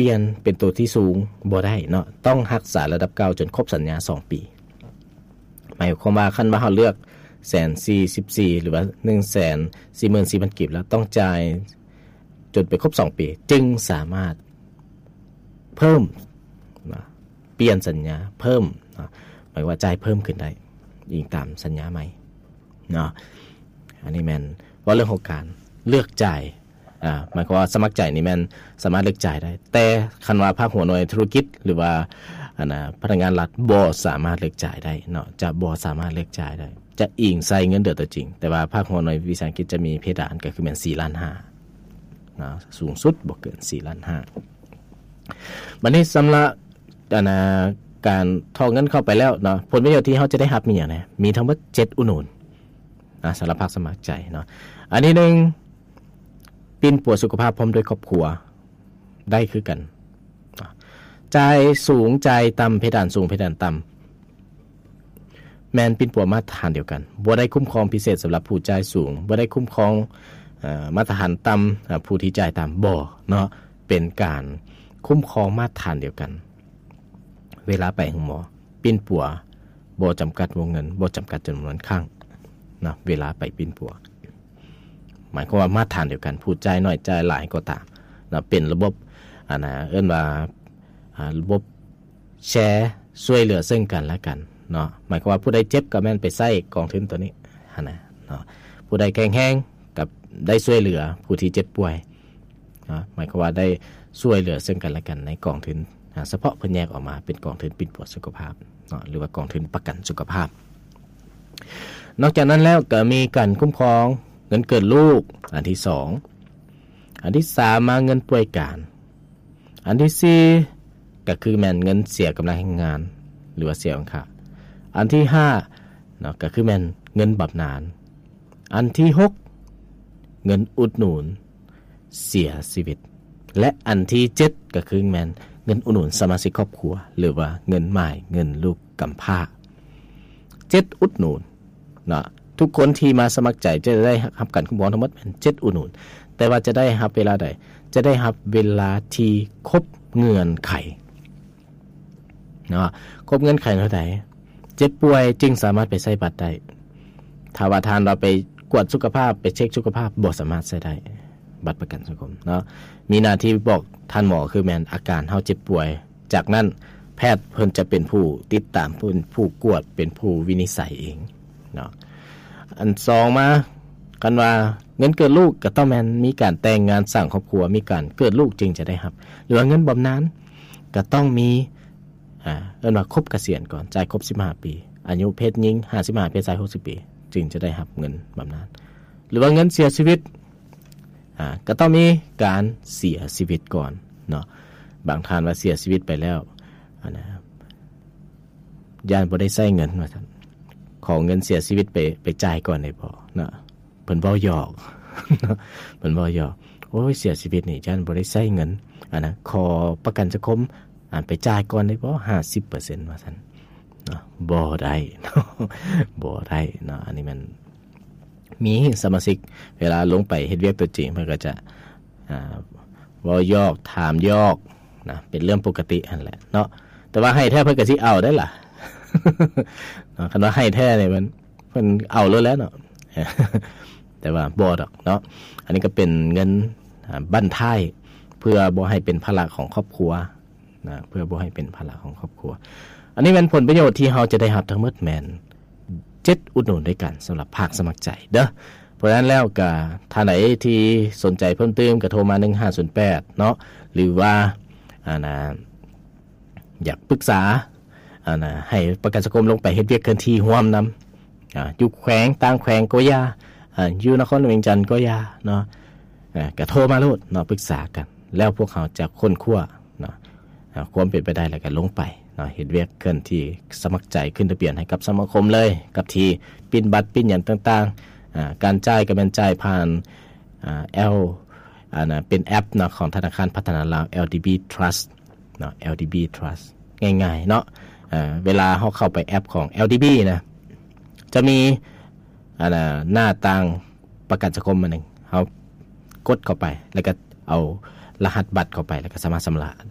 ປ່ຽນເປັນໂຕທີ່ສູງບໍ່ໄດ້ເນາະ, ຕ້ອງຮັກສາລະດັບເກົ່າຈົນຄົບສັນຍາສອງປີ. ໝາຍຄວາມວ່າ ຄັນວ່າເຮົາເລືອກແສນສີ່ສິບສີ່ ຫຼືວ່າໜຶ່ງແສນສີ່ໝື່ນສີ່ພັນກີບແລ້ວ, ຕ້ອງຈ່າຍຈົນໄປຄົບສອງປີ ຈຶ່ງສາມາດເພີ່ມນະ, ປ່ຽນສັນຍາເພີ່ມນະ, ໝາຍວ່າຈ່າຍເພີ່ມຂຶ້ນໄດ້ ອີງຕາມສັນຍາໃໝ່ເນາະ. ອັນນີ້ແມ່ນເວົ້າເລື່ອງຂອງການເລືອກຈ່າຍ ອາ ໝາຍຄວາມວ່າສະໝັກໃຈນີ້ແມ່ນສາມາດເລືອກຈ່າຍໄດ້, ແຕ່ຄັນວ່າພາກຫົວໜ່ວຍທຸລະກິດ ຫຼືວ່າ ອັນນະ ພະນັກງານລັດບໍ່ສາມາດເລືອກຈ່າຍໄດ້ເນາະ, ຈະບໍ່ສາມາດເລືອກຈ່າຍໄດ້, ຈະອີງໃສ່ເງິນເດືອນຕົວຈິງ. ແຕ່ວ່າພາກຫົວໜ່ວຍວິສາຫະກິດຈະມີເພດານ ກໍຄືແມ່ນສີ່ລ້ານຫ້າເນາະ, ສູງສຸດບໍ່ເກີນສີ່ລ້ານຫ້າ. ບັດນີ້ສຳລັບ ອັນນະ ການຖອກເງິນເຂົ້າໄປແລ້ວເນາະ, ຜົນປະໂຫຍດທີ່ເຮົາຈະໄດ້ຮັບມີຫຍັງແດ່? ມີທັງໝົດເຈັດອຸດໜູນນະ ສຳລັບພາກສະໝັກໃຈເນາະ. ອັນທີໜຶ່ງ ປິ່ນປົວສຸຂະພາບພ້ອມດ້ວຍຄອບຄົວໄດ້ຄືກັນ. ຈ່າຍສູງ ຈ່າຍຕ່ຳ, ເພດານສູງ ເພດານຕ່ຳ ແມ່ນປິ່ນປົວມາດຕະຖານດຽວກັນ, ບໍ່ໄດ້ຄຸ້ມຄອງພິເສດສຳລັບຜູ້ຈ່າຍສູງ, ບໍ່ໄດ້ຄຸ້ມຄອງ ເອີ ມາດຕະຖານຕ່ຳ ອາ ຜູ້ທີ່ຈ່າຍຕ່ຳ ບໍ່ເນາະ, ເປັນການຄຸ້ມຄອງມາດຕະຖານດຽວກັນ. ເວລາໄປໂຮງໝໍ ປິ່ນປົວບໍ່ຈຳກັດວົງເງິນ, ບໍ່ຈຳກັດຈຳນວນຄັ້ງເນາະ, ເວລາໄປປິ່ນປົວ ໝາຍຄວາມວ່າມາດຕະຖານດຽວກັນ, ຜູ້ຈ່າຍໜ້ອຍຈ່າຍຫຼາຍກໍຕາມເນາະ, ເປັນລະບົບ ອັນນະ ເອີ້ນວ່າ ອາ ລະບົບແຊ ຊ່ວຍເຫຼືອເຊິ່ງກັນແລະກັນເນາະ, ໝາຍຄວາມວ່າຜູ້ໃດເຈັບກໍແມ່ນໄປໃຊ້ກອງທຶນໂຕນີ້ຫັ້ນນະເນາະ, ຜູ້ໃດແຂງແຮງກໍໄດ້ຊ່ວຍເຫຼືອຜູ້ທີ່ເຈັບປ່ວຍ ເນາະ, ໝາຍຄວາມວ່າໄດ້ຊ່ວຍເຫຼືອເຊິ່ງກັນແລະກັນໃນກອງທຶນ ອາ ສະເພາະເພິ່ນແຍກອອກມາເປັນກອງທຶນປິ່ນປົວສຸຂະພາບເນາະ ຫຼືວ່າກອງທຶນປະກັນສຸຂະພາບ. ນອກຈາກນັ້ນແລ້ວກໍມີການຄຸ້ມຄອງເງິນເກີດລູກ ອັນທີສອງ, ອັນທີສາມມາເງິນປ່ວຍການ, ອັນທີສີ່ກໍຄືແມ່ນເງິນເສຍກຳລັງແຮງງານ ຫຼືວ່າເສຍຂອງຂ້າ, ອັນທີຫ້າເນາະ ກໍຄືແມ່ນເງິນບຳນານ, ອັນທີຫົກ ເງິນອຸດໜູນເສຍຊີວິດ ແລະ ອັນທີເຈັດ ກໍຄືແມ່ນເງິນອຸດໜູນສະມາຊິກຄອບຄົວ ຫຼືວ່າເງິນໝ້າຍ ເງິນລູກກຳພ້າ. ເຈັດອຸດໜູນເນາະ, ທຸກຄົນທີ່ມາສະໝັກໃຈຈະໄດ້ຮັບການຄຸ້ມຄອງທັງໝົດແມ່ນເຈັດອຸດໜູນ, ແຕ່ວ່າຈະໄດ້ຮັບເວລາໃດ? ຈະໄດ້ຮັບເວລາທີ່ຄົບເງື່ອນໄຂ ເນາະ, ຄົບເງື່ອນໄຂເທົ່າໃດ ເຈັບປ່ວຍຈຶ່ງສາມາດໄປໃຊ້ບັດໄດ້. ຖ້າວ່າທ່ານວ່າໄປກວດສຸຂະພາບ ໄປເຊັກສຸຂະພາບ ບໍ່ສາມາດໃຊ້ໄດ້ບັດປະກັນສັງຄົມເນາະ, ມີໜ້າທີ່ບອກທ່ານໝໍຄືແມ່ນອາການເຮົາເຈັບປ່ວຍ, ຈາກນັ້ນແພດເພິ່ນຈະເປັນຜູ້ຕິດຕາມ, ເປັນຜູ້ກວດ, ເປັນຜູ້ວິນິດໄສເອງເນາະ. ອັນສອງມາ ຄັນວ່າເງິນເກີດລູກກໍຕ້ອງແມ່ນມີການແຕ່ງງານສ້າງຄອບຄົວ, ມີການເກີດລູກຈຶ່ງຈະໄດ້ຮັບ, ຫຼືວ່າເງິນບຳນານກໍຕ້ອງມີ ອາ ເອີ້ນວ່າຄົບກະສຽນກ່ອນ, ຈ່າຍຄົບສິບຫ້າປີ, ອາຍຸເພດຍິງຫ້າສິບຫ້າ, ເພດຊາຍຫົກສິບປີ ຈຶ່ງຈະໄດ້ຮັບເງິນບຳນານ, ຫຼືວ່າເງິນເສຍຊີວິດ ອາ ກໍຕ້ອງມີການເສຍຊີວິດກ່ອນເນາະ. ບາງທ່ານວ່າເສຍຊີວິດໄປແລ້ວ ອັນນະ ຢ້ານບໍ່ໄດ້ໃຊ້ເງິນວ່າຊັ້ນ, ຂໍເງິນເສຍຊີວິດໄປ ໄປຈ່າຍກ່ອນໄດ້ບໍ່ເນາະ. ເພິ່ນເວົ້າຫຍອກ ເພິ່ນເວົ້າຫຍອກ, ໂອ້ຍ ເສຍຊີວິດນີ້ຢ້ານບໍ່ໄດ້ໃຊ້ເງິນ, ອັນນະ ຂໍປະກັນສັງຄົມ ອາ ໄປຈ່າຍກ່ອນໄດ້ບໍ່ ຫ້າສິບເປີເຊັນ ວ່າຊັ້ນເນາະ. ບໍ່ໄດ້ເນາະ ບໍ່ໄດ້ເນາະ. ອັນນີ້ແມ່ນມີສະມາຊິກ ເວລາລົງໄປເຮັດວຽກຕົວຈິງ ເພິ່ນກໍຈະ ອາ ເວົ້າຫຍອກ ຖາມຫຍອກນະ, ເປັນເລື່ອງປົກກະຕິຫັ້ນແຫຼະເນາະ. ແຕ່ວ່າໃຫ້ແທ້ເພິ່ນກໍຊິເອົາໄດ້ລະເນາະ, ຄັນວ່າໃຫ້ແທ້ນີ້ມັນ ເພິ່ນເອົາໂລດແຫຼະເນາະ, ແຕ່ວ່າບໍ່ດອກເນາະ. ອັນນີ້ກໍເປັນເງິນ ອາ ບັ້ນທ້າຍ ເພື່ອບໍ່ໃຫ້ເປັນພາລະຂອງຄອບຄົວນະ, ເພື່ອບໍ່ໃຫ້ເປັນພາລະຂອງຄອບຄົວ. ອັນນີ້ແມ່ນຜົນປະໂຫຍດທີ່ເຮົາຈະໄດ້ຮັບທັງໝົດແມ່ນເຈັດອຸດໜູນດ້ວຍກັນສຳລັບພາກສະໝັກໃຈເດີ້. ເພາະສະນັ້ນແລ້ວກໍທ່ານໃດທີ່ສົນໃຈເພີ່ມຕື່ມກໍໂທມາໜຶ່ງຫ້າສູນແປດເນາະ, ຫຼືວ່າ ອັນນະ ຢາກປຶກສາ ອັນນະ ໃຫ້ປະກັນສັງຄົມລົງໄປເຮັດວຽກເຄື່ອນທີ່ຮ່ວມນຳ ອາ ຢູ່ແຂວງ ຕ່າງແຂວງກໍຢ່າ ອາ ຢູ່ນະຄອນຫຼວງວຽງຈັນກໍຢ່າເນາະ, ອາ ກະໂທມາໂລດເນາະ ປຶກສາກັນ, ແລ້ວພວກເຮົາຈະຄົ້ນຄວ້າເນາະ ອາ ຄວາມເປັນໄປໄດ້ ແລ້ວກະລົງໄປເນາະ ເຮັດວຽກເຄື່ອນທີ່ສະໝັກໃຈ ຂຶ້ນທະບຽນໃຫ້ກັບສະມາຄົມເລີຍ ກັບທີ່ປິ່ນບັດ ປິ່ນຫຍັງຕ່າງໆ. ອາ ການຈ່າຍກໍແມ່ນຈ່າຍຜ່ານ ອາ ແອວ ອັນນະ ເປັນແອັບເນາະ ຂອງທະນາຄານພັດທະນາລາວ ແອລດີບີ Trust ເນາະ ແອລດີບີ Trust ງ່າຍໆເນາະ. ເອີ ເວລາເຮົາເຂົ້າໄປແອັບຂອງ ແອລດີບີ ນະ ຈະມີ ອັນນະ ໜ້າຕ່າງປະກັນສັງຄົມອັນໜຶ່ງ, ເຮົາກົດເຂົ້າໄປ ແລ້ວກໍເອົາ ລະຫັດບັດເຂົ້າໄປ ແລ້ວກໍສາມາດຊຳລະ